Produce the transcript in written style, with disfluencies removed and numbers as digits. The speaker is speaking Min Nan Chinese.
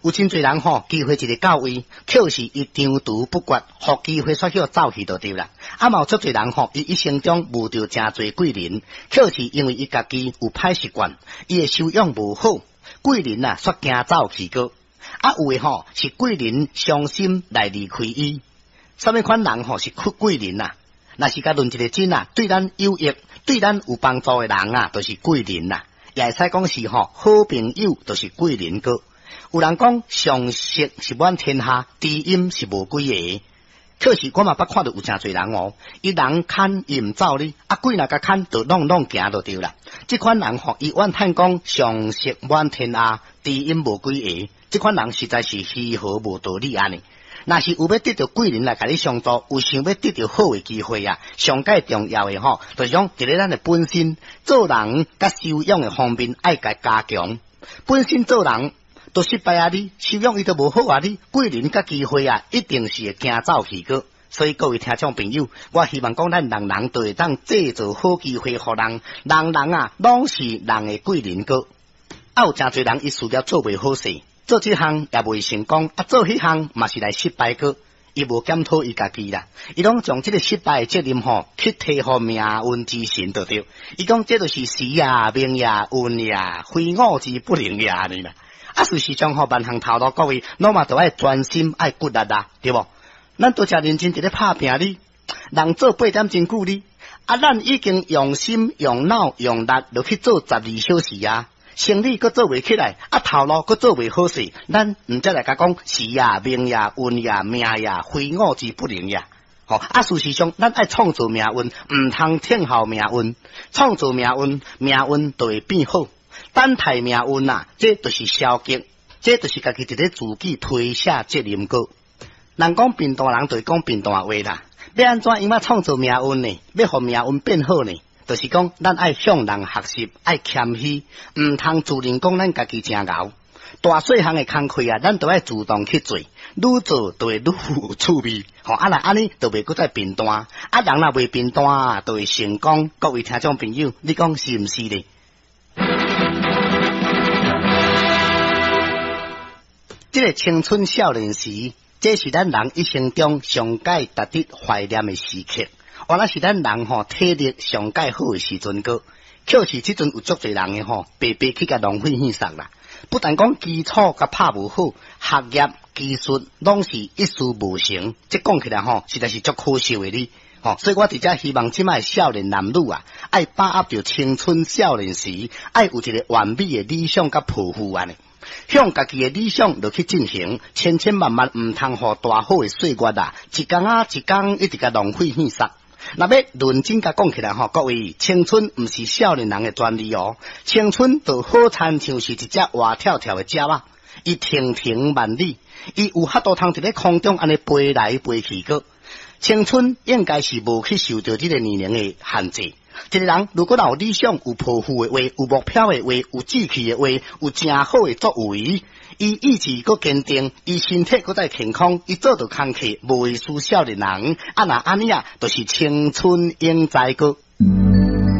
有真濟人吼，機會一个到位，卻是伊長途不決，予機會煞予走去就對啦。啊，嘛有足濟人吼，伊一生中遇著誠濟貴人，卻是因為伊家己有歹習慣，伊的修養無好，貴人啊煞驚走去閣。啊，有的吼是貴人傷心來離開伊。啥物款人吼是貴人啊？若是共論一个真啊，對咱有益、對咱有幫助的人啊，就是貴人啦。也會使講是吼好朋友，就是貴人閣。有人講相識是滿天下，知音是無幾個。可是我嘛捌看著有誠濟人哦，伊人牽伊毋走哩，啊鬼若共牽，就挵挵行就對啦。這款人吼，伊怨嘆講相識滿天下，知音無幾個。這款人實在是虛毫無道理按呢。若是有欲得著貴人來共你相助，有想欲得著好的機會啊，上蓋重要的吼，就是講佇咧咱的本身做人佮修養的方面愛共加強。本身做人都失敗啊，你修養伊都無好啊，你貴人佮機會啊，一定是會驚走去閣。所以各位聽眾朋友，我希望講咱人人都會當製造好機會予人，人人啊攏是人的貴人閣。啊，有誠濟人伊事業做袂好勢。做這項也袂成功，啊做彼項嘛是來失敗閣，伊無檢討伊家己啦，伊攏將這个失敗的責任吼去推予命運之神就對。伊講這就是時也命也運也，非我之不能也按呢啦。啊，事實上吼，萬項頭路各位，攏嘛都愛專心愛骨力啦，對無？咱都誠認真佇咧拍拚哩，人做八點鐘久哩，啊，咱已經用心用腦用力落去做12小時啊。生理閣做袂起來，啊頭路閣做袂好勢，咱毋才來共講時也命也運也命也，非我之不能也。吼啊，事實上，咱愛創造命運，毋通聽候命運，創造命運，命運就會變好。等待命運啊，這就是消極，這就是家己佇咧自己推卸責任閣。人講貧惰人就會講貧惰話啦，欲按怎樣仔創造命運呢？欲予命運變好呢？就是講，咱愛向人學習，愛謙虛，毋通自認講咱家己誠𠢕。大細項的工課啊，咱都愛主動去做，愈做就會愈有趣味。吼，啊若按呢，就袂閣再貧惰。啊，人若袂貧惰，就會成功。各位聽眾朋友，你講是毋是呢？這个青春少年時，這是咱人一生中上蓋值得懷念的時刻。原來是咱人吼體力上蓋好的時陣閣，卻是這陣有足濟人的吼白白去共浪費去殺啦。不但講基礎共拍無好，學業技術攏是一事無成。這講起來吼，實在是足可惜的哩。吼，所以我佇遮希望這擺少年男女啊，愛把握著青春少年時，愛有一个完美的理想佮抱負按呢。向家己的理想落去進行，千千萬萬毋通予大好的歲月啊，一工啊一工一直共浪費去殺。若欲認真共講起來吼，各位青春毋是少年人的專利哦，青春就好親像是一隻活跳跳的鳥仔，伊騰騰萬里，伊有法度通佇咧空中按呢飛來飛去閣。青春應該是無去受著這个年齡的限制。一個人如果若有理想、有抱負的話，有目標的話，有志氣的話，有誠好的作為，伊意志閣堅定，伊身體閣再健康，伊做著工課無會輸少年人。啊，若按呢啊，就是青春永在閣。